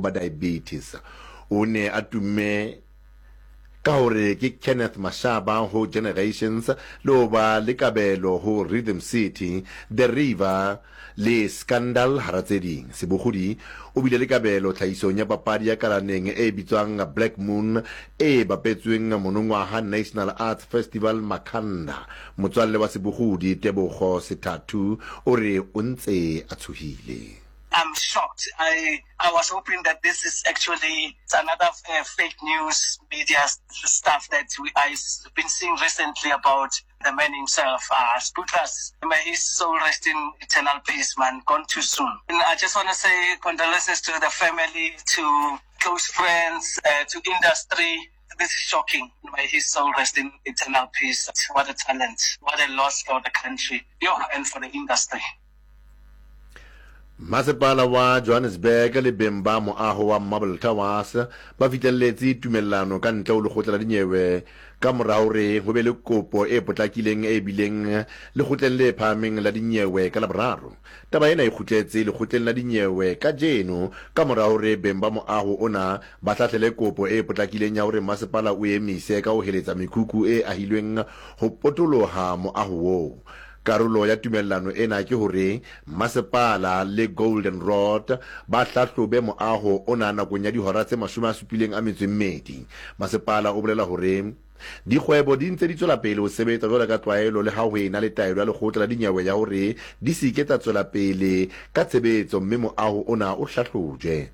ba diabetes. O ne a tumme ka hore ke Kenneth Mashaba ho Generations le ho ba le kabelo ho Rhythm City, The River le Scandal hara tse ding. Sebogodi o bile le kabelo tlhahisong ya papadi ya kalaneng e bitswang Black Moon e bapetsweng monongwaha National Arts Festival Makhanda. Motswalle wa Sebogodi, Tebogo Sethathu o re o ntse a tshohile. I'm shocked. I, I was hoping that this is actually another uh, fake news media stuff that we, I've been seeing recently about the man himself, uh, Sputras. May his soul rest in eternal peace, man. Gone too soon. And I just want to say condolences to the family, to close friends, uh, to industry. This is shocking. May his soul rest in eternal peace. What a talent. What a loss for the country yo, and for the industry. Masepala wa Johannesburg le beng ba moaho wa Marble Towers ba fihlelletše tumellano ka ntle ho lekgotla la dinyewe ka mora hore ho be le kopo e potlakileng e bileng lekgotleng le phahameng la dinyewe ka Laboraro. Taba ena e kgutletse lekgotleng la dinyewe kajeno ka mora hore beng ba moaho ona ba hlahlele kopo e potlakileng ya hore masepala o emise ka ho heletsa mekhukhu e ahilweng ho potoloha moaho woo. Karolo ya tumellano ena ke hore masepala le Golden Rod ba hlahlobe moaho ona nakong ya dihora tse 78. Masepala o bolela hore dikgwebo di ntse di tswela pele ho sebetsa jwalo ka tlwaelo le ha ho ena le taelo ya lekgotla la dinyewe ya hore di se ke tsa tswela pele ka tshebetso mme moaho ona o hlahlojwe.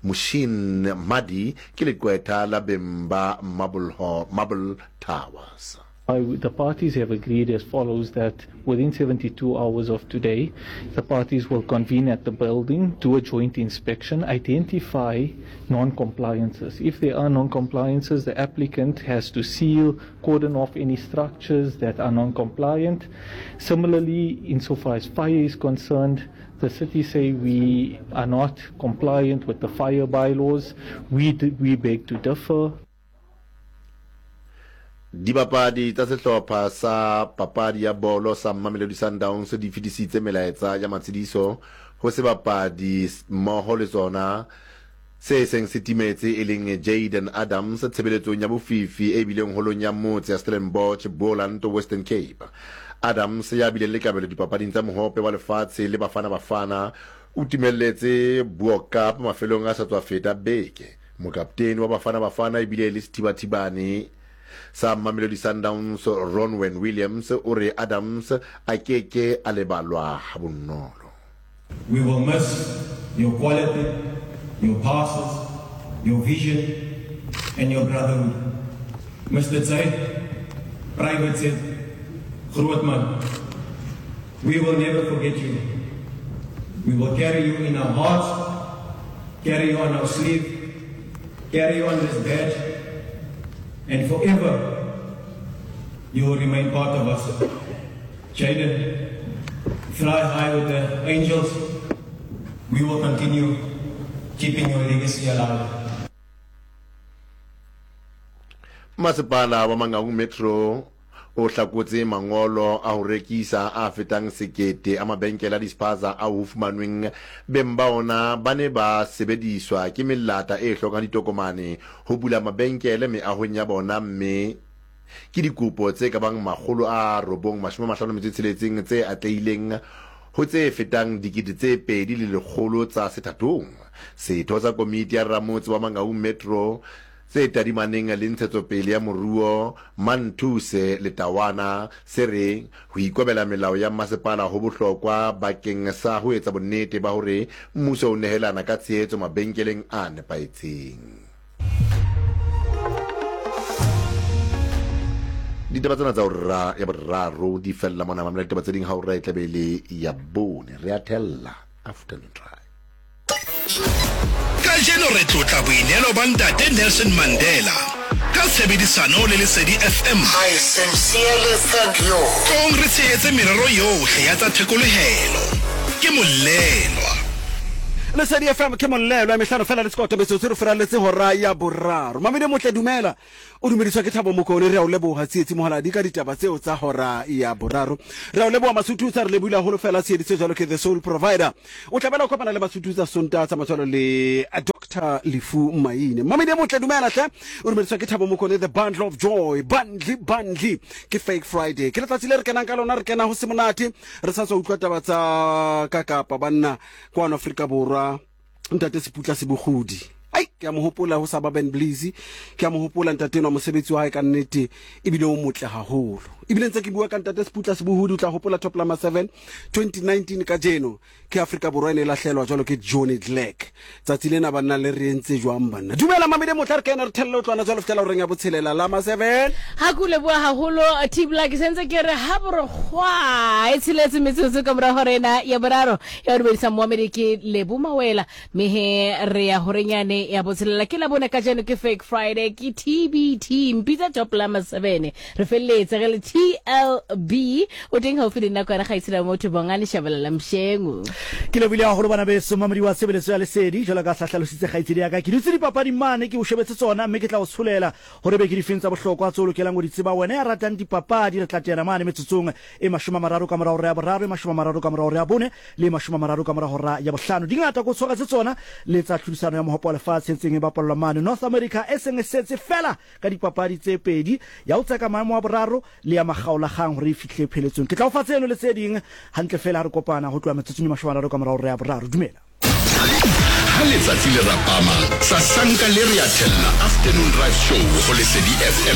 Mushin Madi ke leqwetha la beng ba Marble, Marble Towers. I, the parties have agreed as follows that within 72 hours of today, the parties will convene at the building, do a joint inspection, identify non-compliances. If there are non-compliances, the applicant has to seal, cordon off any structures that are non-compliant. Similarly, insofar as fire is concerned, the city say we are not compliant with the fire bylaws. We, we beg to differ. Dibapadi tsa sehlopha sa papadi ya bolo sa Mamelodi Sundowns di fetisitse melaetsa ya matshediso ho sebapadi mmoho le tsona se seng se timetse e leng Jayden Adams tshebeletsong ya bofifi e bileng holong ya motse ya Stellenbosch, Boland, Western Cape. Adams ya bileng le kabelo dipapading tsa mohope wa lefatshe le Bafana Bafana o timelletse Bo-Kaap mafelong a sa tswa feta beke. Mokaptene wa Bafana Bafana ebile e le sethibathibane sa Mamelodi Sundowns Ronwen Williams o re Adams a ke ke a lebalwa habonolo. We will miss your quality, your passes, your vision and your brotherhood. Mr Zaid, Private Zaid, groot man, we will never forget you. We will carry you in our hearts, carry you on our sleeve, carry you on this badge, and forever you will remain part of us. Jaden, fly high with the angels. We will continue keeping your legacy alive. Masepala wa Mangaung Metro o hlakotse mangolo a ho rekisa a fetang sekete a mabenkele a dispaza ao ho fumanweng beng ba ona ba ne ba sebediswa ke melata e hlokang ditokomane ho bula mabenkele meahong ya bona mme ke dikopo tse ka bang 956 tse atlehileng ho tse fetang 2100 tsa sethathong. Setho sa komiti ya ramotse wa Mangaung Metro tse tadimaneng le ntshetsopele ya moruo Manthuse Letawana se re ho ikobela melao ya masepala ho bohlokwa bakeng sa ho etsa bonnete ba hore mmuso o nehelana ka tshehetso mabenkeleng a nepahetseng. Ditaba tsena tsa hora ya boraro di fella mona. Mamela ditaba tse ding ha hora e tla be e le ya bone. Re a thella Afternoon Drive. Kajeno re tlotla boineelo ba Ntate Nelson Mandela ka tshebedisano le Lesedi FM. I sincerely thank you. Tlong re tshehetse merero yohle ya tsa thekolohelo. Ke Mollelwa. Lesedi FM ke Mollelwa, mehlano fela le sekoto metsotso re furaletse hora ya boraro. Mamedi motle dumela. O dumediswa ke Thabo Mokone, re a o leboha Tsietsi Mohaladi ka ditaba tseo tsa hora ya boraro. Re a o leboha Masututsa, re lebohile haholo fela Tsieditse jwalo ke the sole provider. O tla bela o kopana le Masututsa Sontaha tsa matswalo le Dr. Doctor Lefu Maine. Mamedi motle dumela hle. O dumediswa ke Thabo Mokone the bundle of joy. Bundle bundle ke fake Friday. Ke letsatsi le re kenang ka lona re kena ho se monate. Re sa tswa utlwa taba tsa ka Kapa banna kwano Afrika Borwa. Ntate Seputla Sebogodi. Ai ke a mo hopola ho sa ba Ben Bliss. Ke a mo hopola ntate enwa mosebetsi wa hae ka nnete ebile o motle haholo. Ebile ntse ke bua ka ntate Seputla Sebohodi o tla hopola Top Lama 7 2019 kajeno ke Afrika Borwa e ne e lahlelwa jwalo ke Johnny Clegg. Tsatsi lena banna le re entse jwang banna? Dumela Mamedi Motla re kene re thelle o tlwana jwalo fihlela horeng ya botshelela Lama 7. Ha ke o leboha haholo Tibla ke sentse ke re ha borokgwa e tsheletse metsotso ka mora hora ena ya boraro ya go dumedisa moamedi ke Lebo Mawela mme he re ya horenyane ya botshelela ke labone kajeno ke fake Friday ke TBT mpitsa top la masebene re feleletse re le TLB o teng haufi le nna kwana gaitsela motho bongane shabalala mshengu. Ke lebohile haholo bana beso mamedi wa tshebeletso ya lesedi jwalo ka sa hlalositse kgaitsedi ya ka ke dutse dipapading mane ke o shebetse tsona mme ke tla o tsholela gore be ke difeng tsa bohlokwa tse o lokelang go di tseba wena ya ratang dipapadi re tla teana mane metsotsong e 30 ka mora hora ya boraro e 30 ka mora hora ya bone le e 30 ka mora hora ya bohlano di ngata ko tshwaretse tsona le tsa tlhodisano ya mohopo wa lefatshe e ntseng e bapallwa mane North America e seng e setse fela ka dipapadi tse pedi ya ho tseka maemo a boraro le ya makgaolakgang hore e fihle pheletsong. Ke tla o fa tseno le tse ding hantle feela ha re kopana ho tloha metsotsong e 30 ka mora hora ya boraro. Dumela. Ha letsatsi le rapama, sasanka le re a thella Afternoon Drive Show ho Lesedi FM.